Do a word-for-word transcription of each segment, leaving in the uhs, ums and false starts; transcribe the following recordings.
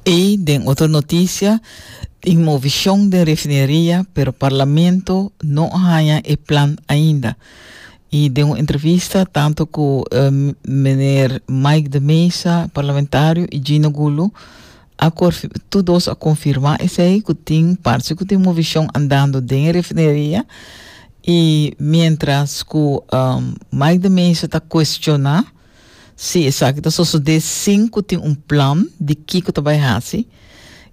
I den otro notisia, tin moveshon di refineria, pero parlamento no a haña e plan ainda. I den un entrevista tantu ku um, meneer Mike de Meza, parlamentario, i Gino Goeloe, a tur dos a konfirmá esei, ku tin parse ku tin moveshon andando den refineria i mientras ku um, Mike de Meza ta kuestioná si esaki ta sosodé sin ku tin un plan di kiko ta bai hasi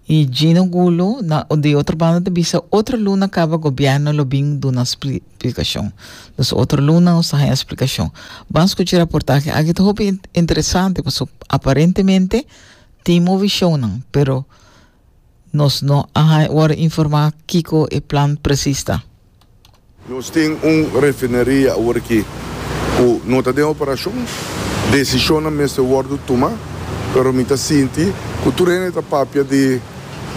i Gino Goeloe na di otro banda ta bisa otro luna kaba gobièrnu lo bin duna splikashon. Dus otro luna nos ta haña splikashon. Ban skucha reportahe aki, ta hopi interesante, pasobra aparentemente tin moveshon, pero nos no a wòrdu informá kiko e plan presis ta. Nos tin un refineria awor ku ku no ta den operashon, desishon mester wòrdu tumá, pero mi ta sinti ku tur hende ta papia di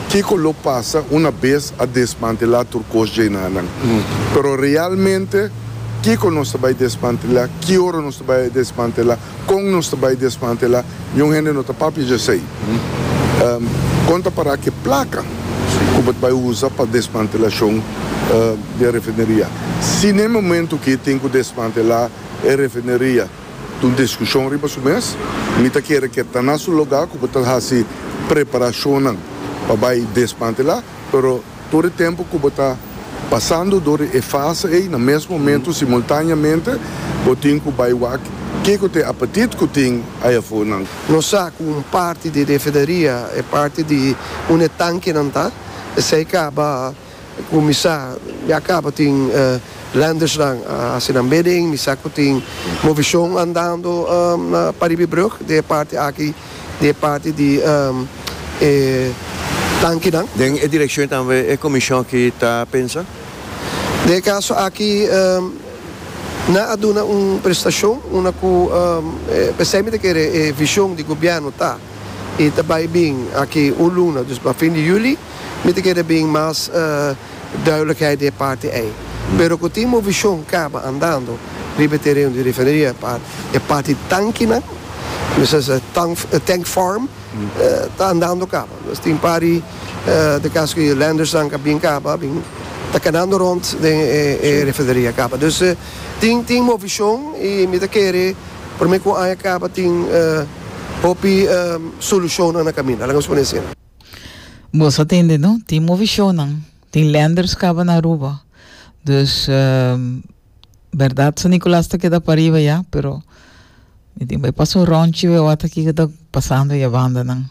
kiko lo pasa una bes a desmantelá tur kos einan. Mm. Pero realmente, kiko nos ta bai desmantelá, ki ora nos ta bai desmantelá, kon nos ta bai desmantelá, ningun hende no ta papia di esei. Mm. Um, kon ta para ku plaka ku ta bai usa pa desmantelashon uh, di refineria. Si na momento ku tin ku desmantelá e refineria, un diskushon riba su mes, mi ta kere ku ta na su lugá ku ta hasi preparashon pa bai desmantelá, pero tur tempu ku ta pasando dor e fase ei, na mes momento, simultaneamente, bo tin ku bai wak kiko ta e apetit ku tin ei afó. Nos sa ku un parti di refineria e parti di un tankenan ta, esei kaba kuminsá, ya kaba tin uh, landers nan asina bidding, mi sa ku tin moveshon andando um, na Pariba Brug, di parti aki, di parti di um, eh, tankenan. Den e direkshon tambe e komishon ku ta pensa? Den kaso aki, um, nan a duna un presentashon, unda ku um, eh, pensamentu ku e vishon di gobièrnu ta i tambe bin aki un luna, dus pa fin di yüli, mi ta kere bin mas uh, duidelijkheid di parti ei. Pero ku tin vishon kaba andando riba tereno di refineria pa e parti tankenan, dus e tank, tank farm, uh, ta andando kaba. Dus tin parti uh, de kaso ku landers dan bin kaba, bin ta kanando rònt den e, e refineria kaba. Dus uh, tin tin moveshon i mi ta kere promé ku aña kaba tin uh, hopi um, solushon na kaminda. Laga nos pone asina. Bo a tende, no? Tin moveshon, tin landers kaba na Aruba. Dus, um, berdat, San Nicolas ta keda pariba ya, pero mi tin bai pasa un ròntje, wak kiko ta pasando ei bandanan.